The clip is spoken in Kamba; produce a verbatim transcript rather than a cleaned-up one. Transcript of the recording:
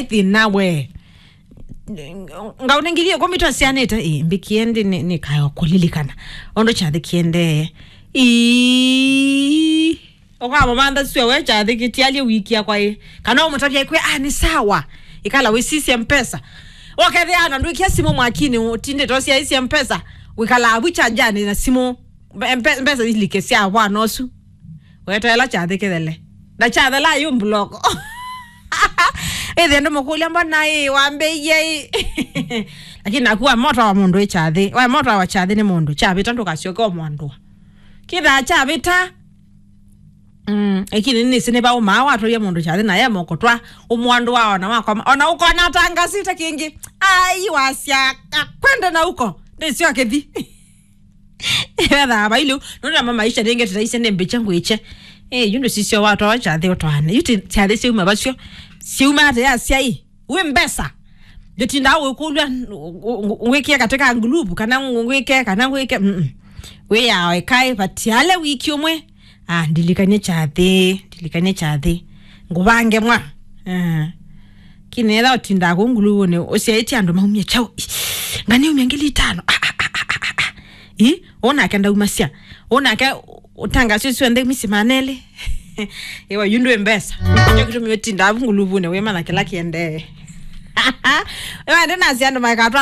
Ĩthĩna we. Ngaũnengithie kwa mito sianĩte, ĩ, mbĩkie ndi nĩ, nĩ kayo kũlilikana. Ondo kyathĩ kiendee. Ii. Ũkamũmantha sua we kyathĩ kĩtialye wikia kwa ĩ. Kana ũmũtavya kwĩ, ah, nĩ sawa. Ikala wĩsisye mpesa. Wakethĩa na ndwĩkia simũ mwakini, ũtindĩte ũsyaisye mpesa. Wĩkala avu chanjani na simũ. Mbe-, mbe-, mbesa ilike sya vwana ũsu. Weteela kyathĩ kĩthele. Na kyathela yu mbuloko. Ĩthĩ andũ mũkũlya, "Mbona ĩ wambĩie ĩ?" Lakini naku wa moto wa mũndũ ĩ kyathĩ. Wa moto wa kyathĩ nĩ mũndũ. Kyavĩta ndũkasyoke ũmwandũa. Kĩthaa kyavĩta. Mm, lakini nĩsĩ nĩ vaũmaa watwaie mũndũ kyathĩ na ye moko twa ũmwandũa ona wakoma. Ona ũkona atangasite kĩngĩ. Ai, wasya, "Kwende na uko." Ndĩsyo kĩthi. Ethaa vailu, nũndũ ama maisha nĩngetĩtaisye nĩ mbĩkye ngwĩkye. Eh, yu ndũsisyo watwawa kyathĩ ũtwaane. Yu ti kyathĩ syauma vasyo. Syauma ate ya syai. Wĩ mbesa. Ndĩtindaa ũkũlw'a ngwĩkĩe katika ngulupu, kana ngwĩke, kana ngwĩke. Mm-mm. Wĩyawa ĩkaĩ, vatiale wiki ũmwe. Ah, ndilikanie kyathĩ, ndilikanie kyathĩ. Ngũvange mwa. Eh. Kinetha ũtindaa kũu nguluvunĩ, ũsyaĩtye andũ maumye kyaũ. Ngani umya ngili itano. Ah, ah, ah, ah, ah, ah. Ĩ, ũnake ndaumasya. Ũnake ũtangasyo syonthe misi manelĩ. Ĩwa yu ndwĩ mbesa. Kyo kĩtumi ũtindaa vu nguluvunĩ, wĩmanya kĩla kĩendee. Ĩwa ndĩ nasya andũ maikatwa